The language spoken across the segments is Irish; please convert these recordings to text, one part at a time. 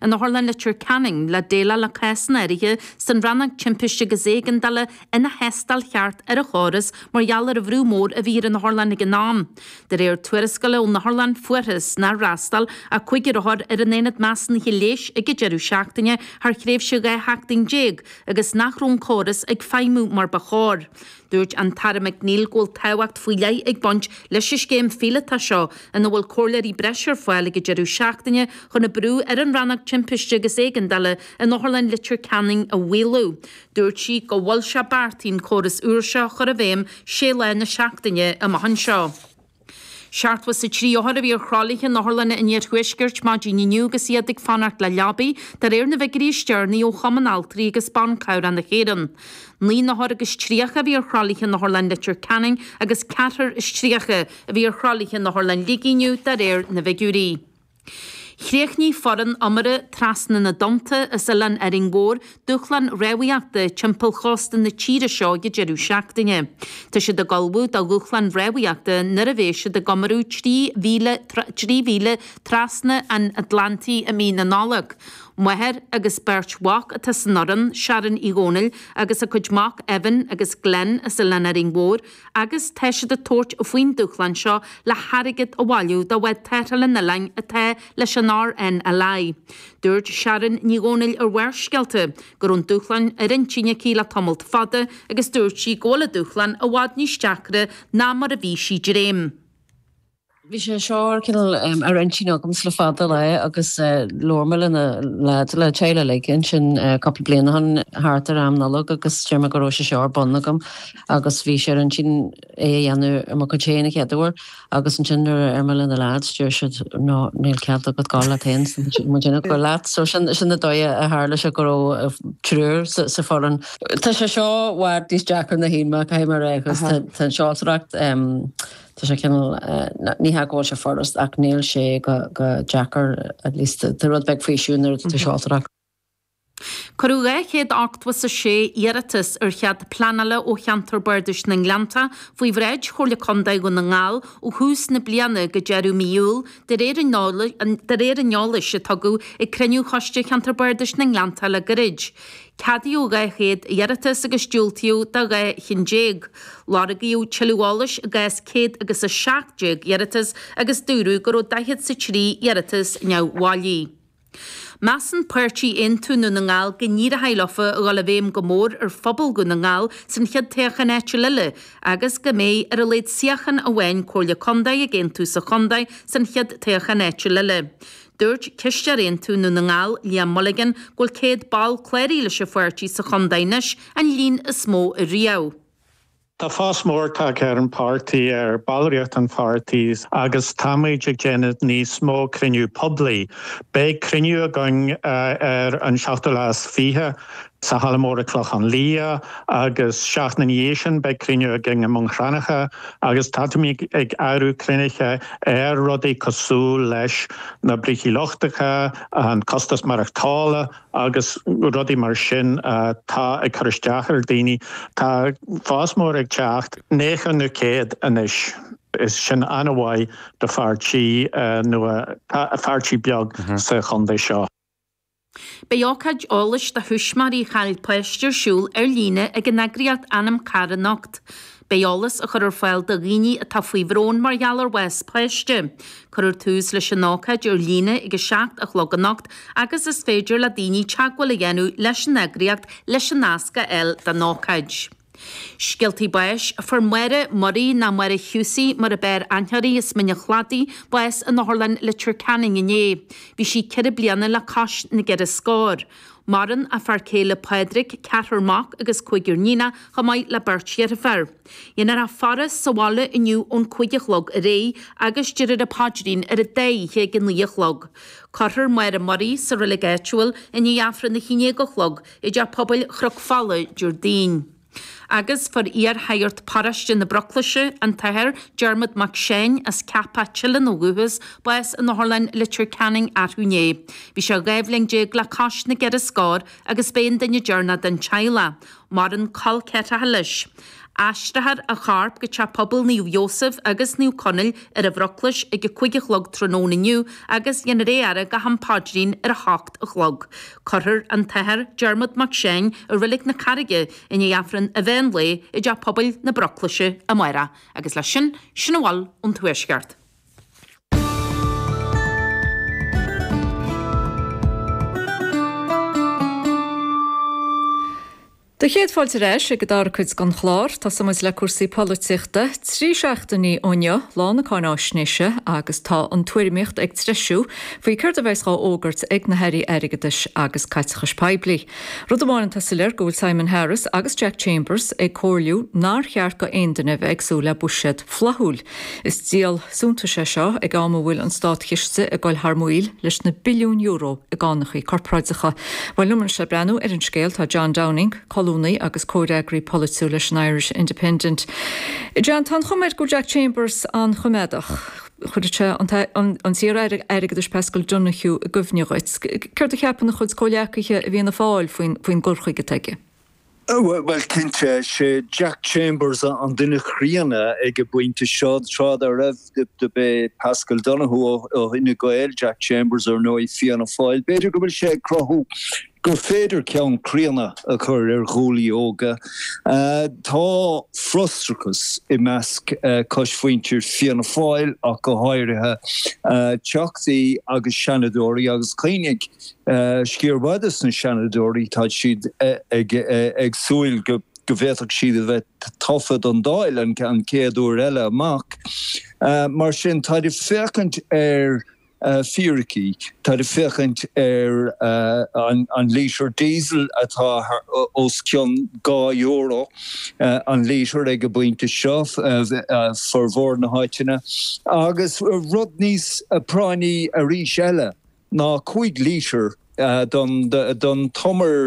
In Otharlann Leitir Ceanainn le déileáil le cásanna áirithe san Rannóg Timpiste agus Éigeandála ina thástáil cheart ar an chóras mar gheall ar an bhrú mór a bhí ar an otharlann ag an am. De réir tuarascála ón otharlann fuarthas nár fhreastail ach cúigear othar ar an aonad measúnaithe leighis ag an deireadh seachtaine thar thréimhse 12 sheachtain agus nach raibh an córas ag feidhmiú mar ba chóir. Dúirt an tAire McNeill go bhfuil tábhacht faoi leith ag baint leis an scéim phíolótach seo ina bhfuil comhairleoirí breise ar fáil ag an deireadh seachtaine chun an brú ar an Rannóg Timpiste agus Éigeandála in Otharlann Leitir Ceanainn a mhaolú. Dúirt sí go bhfuil sé beartaithe an córas úr seo a chur i bhfeidhm sé lá na seachtaine amach anseo. 73 othar a bhí ar thralaithe in otharlanna an iarthuaiscirt maidin inniu agus iad ag fanacht le leabaí, de réir na bhfigiúirí is deireanaí ó Chumann Altraí agus Ban Cabhrach na hÉireann. 39 n-othar a bhí ar thralaithe in Otharlann Leitir Ceanainn agus 34 a bhí ar thralaithe in Otharlann Shligigh inniu, de réir na bhfigiúirí. Chríochnaigh foireann iomaire Trasna na dTonnta as Oileán Árainn Mhór dúshlán rámhaíochta timpeall chósta na tíre seo ag an deireadh seachtaine. Tá siad ag ullmhú do dhúshlán rámhaíochta nuair a bheidh siad ag iomarú 3,000 mhíle trasna an Atlantaigh i mí na Nollag. Máthair agus beirt mhac atá san fhoireann, Sharon Uí Dhónaill agus a cuid mac Evan agus Glenn as Oileán Árainn Mhór, agus tá siad ag tabhairt faoin dúshlán seo le hairgead a bhailiú do bhád tarrthála an oileáin atá leis an RNLI. Dúirt Sharon Ní Dhónaill ar Bharrscéalta go raibh an dúshlán ar intinn aici le tamalt fada agus dúirt sí go bhfuil an dúshlán i bhfad níos deacra ná mar a bhí sí ag dréim. Bhí sé seo ar cineál ar intinn agamsa le fada lá agus labhair mé le na lads le teaghlach uilig ansin cúpla bliain ó shin thart ar am Nollag agus deir mé go raibh sé seo ar bun agam agus bhí sé ar intinn é a dhéanamh ar mo chuid féin an chéad uair agus ansin nuair a deir mé le na lads deir siad no níl cead agat gabháil leat féin muid ag gabháil leat so sin sin an dóigh a tharla sé go raibh triúr sa sa foireann. Tá sé seo i bhfad níos deacra ná shíl mé caithfidh mé a rá agus tá an seoltóireacht Tá sé cineál, ní hea go bhfuil sé furast ach níl sé go deacair, at least tá rud beag faoiseamh nuair atá tú ag seoltóireacht. Cuireadh 286 iarratas ar chead pleanála ó Cheantar Bardais na nGleanntach faoi bhráid Chomhairle Contae Dhún na nGall ó thús na bliana go deireadh mí Iúil, de réir an eolais a tugadh ag cruinniú Choiste Cheantar Bardais na nGleanntach le gairid. Ceadaíodh 200 iarratas agus diúltaíodh do 12 chinn. Lorgaíodh tuilleadh eolais i gcás céad agus 17 iarratas agus dúradh go raibh daichead 's a trí iarratas neamhbhailí. Measann páirtí Aontú Dhún na nGall go n-éireoidh leofa a dhul i bhfeidhm go mór ar phobal Dhún na nGall san chéad toghchán áitiúil eile agus go mbeidh ar a laghad suíochán amháin Comhairle Contae ag Aontú sa chontae san chéad toghchán áitiúil eile. Dúirt Cisteoir Aontú Dhún na nGall, Liam Mulligan, go bhfuil 100 ball cláraithe leis an pháirtí sa chontae anois, an líon is mó riamh. Tá fás mór tagtha ar an pháirtí, ar ballraíocht an pháirtí agus táimid ag déanamh níos mó cruinniú poiblí. Beidh cruinniú againn ar an seachtú lá is 20 sa Halla Mór i Clochán Liath agus seachtain ina dhiaidh sin beidh cruinniú againn i mBun Cranncha agus táimid ag eagrú cruinnithe ar rudaí cosúil leis na brící lochtacha, an costas maireachtála agus rudaí mar sin atá ag cur isteach ar daoine. Tá fás mór ag teacht, 90 nó 100 anois, is sin an-mhaith do pháirtí nua, pháirtí beag sa chontae seo. Beidh ócáid eolais do thuismitheoirí a chaill páiste ar siúl ar líne ag an eagraíocht Anam Cara anocht. Beidh eolas á chur ar fáil do dhaoine atá faoi bhrón mar gheall ar bhás páiste. Cuirfear tús leis an ócáid ar líne ag 7 a chlog anocht agus is féidir le daoine teagmháil a dhéanamh leis an eagraíocht leis an nasc a fháil don ócáid. Scéaltaí báis, Fuair Máire Murray, nó Máire Hughesie mar ab fhearr aithne uirthi, as Mín an Chladaigh, bás in Otharlann Leitir Ceanainn inné. Bhí sí ceithre bliana le cois na gceithre scór. Maireann a fear céile Pádraig, ceathrar mac agus cúigear níonach, chomh maith le beirt dheirféar. Déanfar faire sa bhaile inniu ón 5 a chlog ar aghaidh agus déarfar an paidrín ar an dá oíche ag a 9 a chlog. Cuirfear Máire Murray sa reilig áitiúil i ndiaidh Aifreann a 11 a chlog i dTeach Pobail Chnoc Fola Déardaoin. Agus fuair iar-shagart paróiste na Broclaise, an tAthair Diarmuid Mac Seáin as Ceapach Teileann ó dhúchas, bás in Otharlann Leitir Ceanainn arú inné. Bhí sé 12 bhliain le cois na gceithre scór agus b'é an duine deireanach den teaghlach. Maireann col ceathracha leis. Aistreofar a chorp go Teach Pobail Naomh Iósaf agus Naomh Conaill ar an Bhruclais ag a 5 a chlog tráthnóna inniu agus dhéanfar é a fhaire go ham paidrín ar a hocht a chlog. Cuirfear an tAthair Diarmuid Mac Seáin i Reilig na Carraige i ndiaidh Aifreann an mheán lae i dTeach Pobail na Bruclaise amárach. Agus leis sin, sin a bhfuil ón Tuaisceart. Do chéad fáilte ar ais ag an dara cuid den chlár. Tosóidh muid le cúrsaí polaitíochta. 3 seachtainí ó inniu, lá na cáináisnéise, agus tá an tuairimíocht ag treisiú faoi céard a bheas dhá fhógairt ag na hAirí Airgeadais agus Caiteachais Poiblí. Rud amháin atá soiléir, go bhfuil Simon Harris agus Jack Chambers ag comhairliú nár cheart go aon duine a bheith ag súil le buiséad flaithiúil. Is díol suntais é seo ag am a bhfuil an státchiste ag dul thar maoil leis na billiúin euro i gcánachaí corparáideacha. Bhuel, liom anois le breathnú ar an scéal tá John Downing, colúnaí agus comhfhreagraí polaitiúil leis an Irish Independent. John, tá an chuma air go bhfuil Jack Chambers an-choimeádach. Chuir sé an t-iar-aire airgeadais Paschal Donohoe i gcuimhne dhuit. Céard a cheapann a chuid comhghleacaithe i bhFianna Fáil faoin gcur chuige atá aige? Bhuel, cinnte, sé Jack Chambers an duine críonna ag an bpointe seo. Tráth dá raibh, do b'é Paschal Donohoe ó Fhine Gael, Jack Chambers ar ndóigh Fianna Fáil. B'fhéidir go bhfuil sé ag cruthú gur féidir ceann críonna a chur ar ghuaillí óga. Tá frustrachas i measc coismhuintir Fianna Fáil ach go háirithe, teachtaí agus seanadóirí agus cuimhnigh, Sciar mhaith de na Seanadóirí, tá siad ag súil go bhféadfadh siad a bheith tofa don Dáil an chéad uair eile amach. Mar sin, táid ag féachaint ar fíricí, táid ag féachaint ar an lítear diesel atá os cionn €2 an lítear ag an bpointe seo, formhór na háiteanna, agus rud níos práinní arís eile, ná 5 lítear don t-umar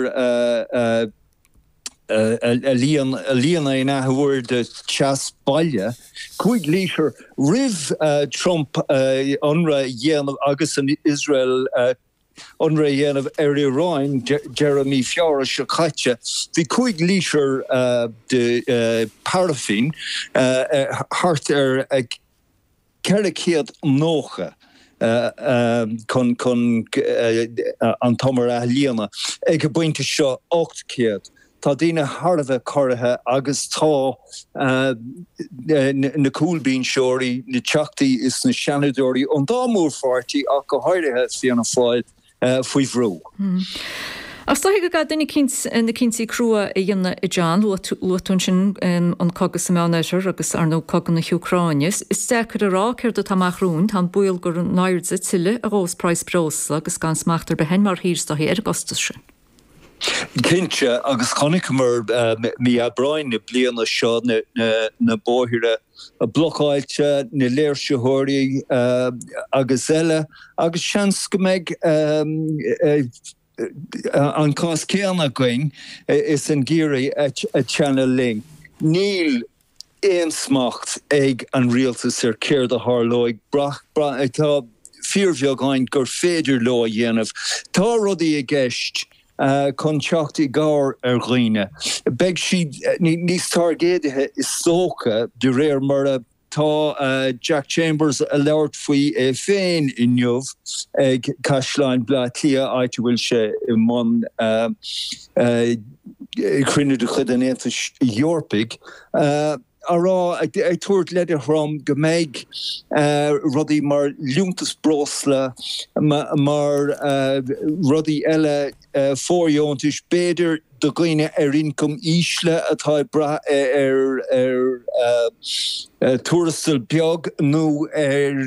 a líonadh in athuair do theas baile, 5 lítear roimh Trump ionradh a dhéanamh agus an Iosrael ionradh a dhéanamh ar Iran deireadh mí Feabhra seo caite, bhí 5 lítear de paraifín thart ar 490 chun an t-umar a líonadh. Ag an bpointe seo, 800. Tá daoine thar a bheith corraithe agus tá na cúlbhinseoirí, na teachtaí is na seanadóirí ón dá mhórpháirtí ach go háirithe Fianna Fáil, faoi bhrú. Ach is dóiche go gcaithfidh duine eicínt na cinntí crua a dhéanamh a John. Luaigh tú ansin an cogadh sa Meánoirthear agus, ar ndóigh, cogadh na hÚcráine. Is deacair a rá céard atá amach romhainn. Tá an baol gur in airde tuilleadh a ghabhfas praghas breosla agus gan smacht ar bith againn mar thír is dóichí ar an gcostas sin. Cinnte, agus chonaiceamar mí Aibreáin na bliana seo na bóithre blocáilte, na léirsitheoirí agus eile, agus seans go mbeidh an cás céanna againn is an geimhreadh ag teannadh linn. Níl aon smacht ag an rialtas ar céard a tharlóidh. Tá fíorbheagán gur féidir leo a dhéanamh. Tá rudaí i gceist chun teacht i gcabhair ar dhaoine. Beidh siad níos tairgéadaithe is dócha de réir mar a Tá Jack Chambers ag labhairt faoi é féin inniu ag Caisleán Bhaile Átha Cliath, áit a bhfuil sé i mbun cruinniú de chuid an Aontais Eorpaigh, á rá, ag tabhairt leide throm go mbeidh rudaí mar liúntas breosla, mar rudaí eile, fóirdheontais, b'fhéidir, do dhaoine ar ioncam ísle atá ag brath ar tuarastal beag nó ar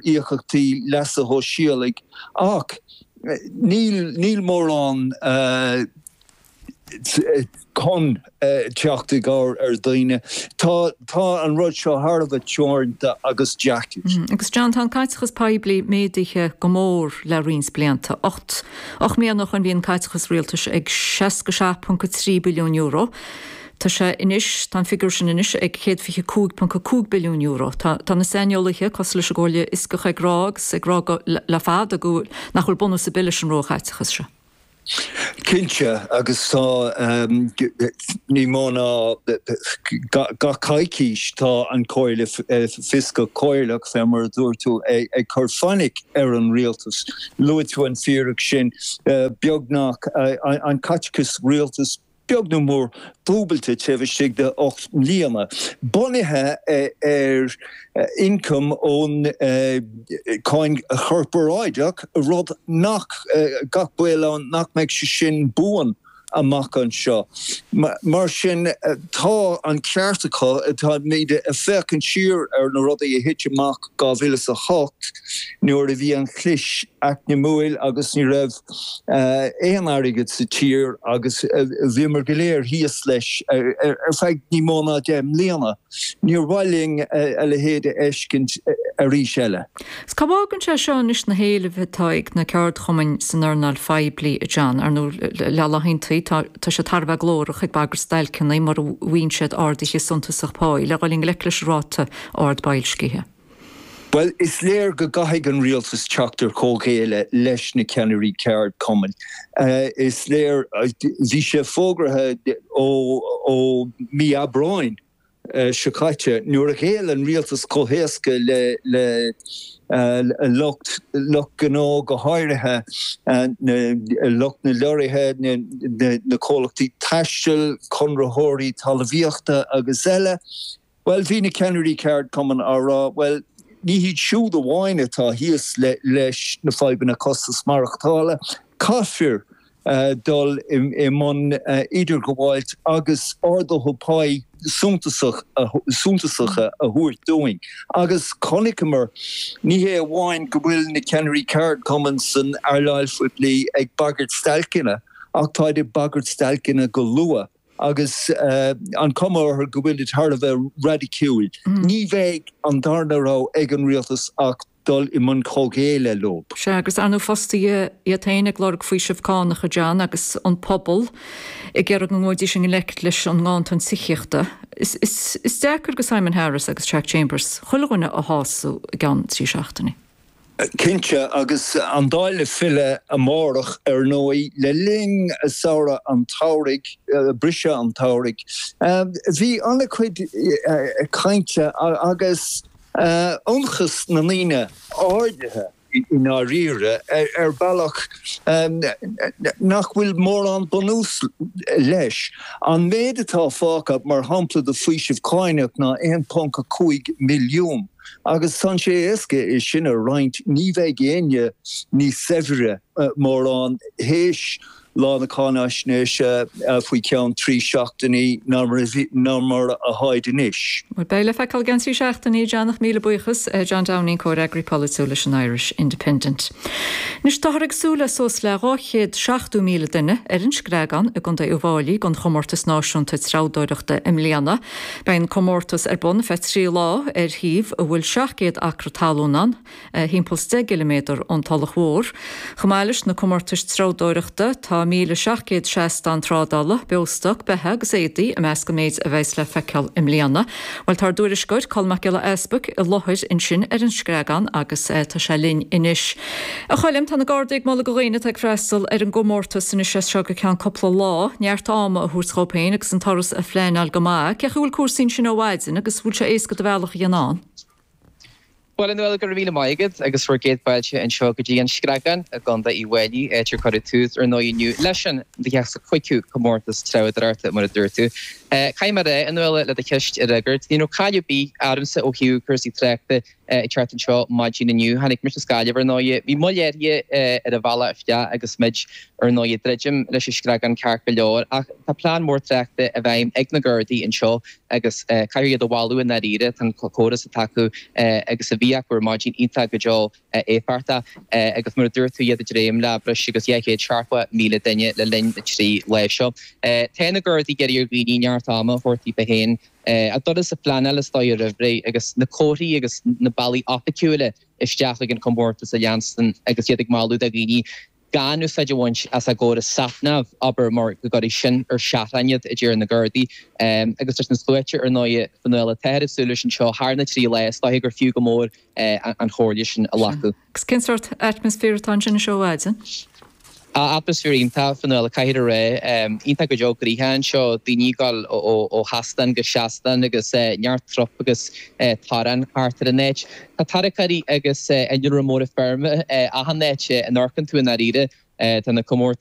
íocaíochtaí leasa shóisialaigh. Ach níl mórán chun teacht i gcabhair ar dhaoine. Tá tá an rud seo thar a bheith teoranta agus deacair. Agus John, tá an caiteachas poiblí méadaithe go mór le roinnt blianta. 8 mbliana ó shoin bhí an caiteachas rialtais ag €67.3 billiún. Tá sé anois, tá an figiúr sin anois ag €125.5 billiún. Tá tá na saineolaithe, cosúil leis an gComhairle Fhioscach ag rá agus ag rá go le fada go nach bhfuil bunús ar bith leis an róchaiteachas seo. Cinnte, agus tá ní mó ná gach coicís tá an Chomhairle Fioscach Comhairleach, fé mar a dúirt tú, ag cur fainic ar an rialtas. Luaigh tú an fíric sin, beagnach an caiteachas rialtais beag nó mór dúbailte taobh istigh de 8 mbliana, bunaithe ar ioncam ón cáin chorparáideach, rud nach, gach baol ann nach mbeidh sé sin buan amach anseo. Mar sin, tá an ceart acu, táimid ag féachaint siar ar na rudaí a thit amach 2008 nuair a bhí an chlis eacnamúil agus ní raibh aon airgead sa tír agus bhíomar go léir thíos leis ar feadh ní mó ná 10 mbliana. Níor mhaith linn a leithéid a fheiscint arís eile. Is cá bhfágann sé seo anois na héilimh atá ag na ceardchumainn san earnáil phoiblí, a John? Ar ndóigh, le laethanta, tá siad thar a bheith glórach ag bagairt stailceanna mura bhfaigheann siad arduithe suntasach páí le dhul i ngleic leis an ráta ard boilscithe. Bhuel, is léir go gcaithfidh an rialtas teacht ar chomhghéilleadh leis na ceannairí ceardchumainn. Is léir, bhí sé fógraithe ó mí Aibreáin seo caite, nuair a ghéill an rialtas chomh héasca le lucht lucht gnó, go háirithe lucht na leoraithe, na comhlachtaí taistil, conraitheoirí talmhaíochta agus eile. Bhuel, bhí na ceannairí ceardchumainn á rá, bhuel, ní hiad siúd amháin atá thíos leis na fadhbanna costas maireachtála, caithfear dul i mbun idirghabháilt agus arduithe páí suntasacha a thabhairt dúinn. Agus chonaiceamar, ní hé amháin go bhfuil na ceannairí ceardchumainn san earnáil phoiblí ag bagairt stailceanna, ach táid ag bagairt stailceanna go luath. agus an cuma orthu go bhfuilid thar a bheith raidiciúil. Ní bheidh an darna rogha ag an rialtas ach dul i mbun comhghéilleadh leo. Sea, agus ar ndóigh fostaithe iad féin ag lorg faoiseamh cánach, a John, agus an pobal ag iarraidh go ngabhfaidís i ngleic leis an nganntan tithíochta. Is deacair do Simon Harris agus Jack Chambers chuile dhuine a shásamh i gceann 3 seachtainí. Cinnte, agus an Dáil ag filleadh amárach, ar ndóigh, le linn samhradh an tsamhraidh, briseadh an tsamhraidh, bhí an-chuid cainte agus ionchas na ndaoine ardaithe i ndáiríre, ar bhealach nach bhfuil mórán bunús leis. An méid atá fágtha, mar shampla, de faoiseamh cáinach ná 1.5 milliún. Agus tá sé éasca é sin a roinnt, ní bheidh éinne níos saibhre mórán théis lá na cáinaisnéise faoi cheann 3 seachtainí ná mar atáid anois. Bhuel, beidh le feiceáil i gceann 3 seachtainí, John, ach míle buíochas, John Downing, Comhfhreagraí Polaitiúil leis an Irish Independent. Anois, táthar ag súil le suas le 270,000 duine ar an Screagán i gContae Uíbh Fháilí don chomórtas náisiúnta treabhdóireachta i mbliana. Beidh an comórtas ar bun feadh 3 lá ar shuíomh a bhfuil 700 acra talún ann, thimpeall 's 10 gciliméadar ón Tulach Mhór. Chomh maith leis na comórtais treabhdóireachta, tá 1,700 seastán trádála, beostoc, beithe agus éadaí i measc an méid a bheas le feiceáil i mbliana. Bhuel, tá ár dtuairisceoir, Colm Mac Giolla Easbuic, i láthair ansin ar an Screagán agus tá sé linn anois. A Choilm, tá na Gardaí ag moladh do dhaoine atá ag freastal ar an gcomórtas anois as seo go ceann cúpla lá, neart ama a thabhairt dhóibh féin agus an turas a phleanáil go maith. Cén chaoi a bhfuil cúrsaí ansin ó mhaidin agus bhfuil sé éasca do bhealach a dhéanamh ann? Bhuel, a Nuala, go raibh míle maith agat agus bhur gcéad fáilte anseo go dtí an Screagán i gContae Uíbh Fhailí, áit ar cuireadh tús, ar ndóigh, inniu leis an 25ú Comórtas Treabhdóireachta, mar a dúirt tú. Caithfidh mé a rá, a Nuala, le do cheist a fhreagairt, ní raibh caill ar bith ormsa ó thaobh cúrsaí tráchta ag teacht anseo maidin inniu. Tháinig mise as Gaillimh, ar ndóigh. Bhí moill áirithe ar an bhealach isteach agus muid, ar ndóigh, ag druidim leis an Screagán ceart go leor. Ach tá plean mór tráchta i bhfeidhm ag na Gardaí anseo agus caithfear iad a mholadh i ndáiríre. Tá an córas atá acu agus a bhí acu ar maidin iontach go deo éifeachtach agus mar a dúirt tú, iad ag dréim le breis agus 270,000 duine le linn na dtrí lá seo. Tá na Gardaí ag iarraidh ar dhaoine neart ama a thabhairt daofa féin. A dturas a phleanáil is dóigh roimh ré agus na comharthaí agus na bealaí oificiúla isteach chuig an chomórtas a leanstan agus iad ag moladh do dhaoine gan úsáid a bhaint as a gcóras SatNav, abair, mar go gcuirfidh sin ar seachrán iad, a deir na Gardaí. Agus leis na sluaite, ar ndóigh, a Fhionnuala, atáthar ag súil leis anseo thar na dtrí lá, is dóiche gur fiú go mór an chomhairle sin a ghlacadh. Agus cén sórt atmaisféar atá ansin anois ó mhaidin? Atmaisféar iontach, Fionnuala, caithfidh a rá. Iontach go deo gnoitheach anseo, daoine ag dul ó sheastán go seastán agus neart trup agus torann thart ar an áit. Tá tarracóirí agus innealra móra feirme achan áit a n-amharcann tú i ndáiríre. Tá na comórtais.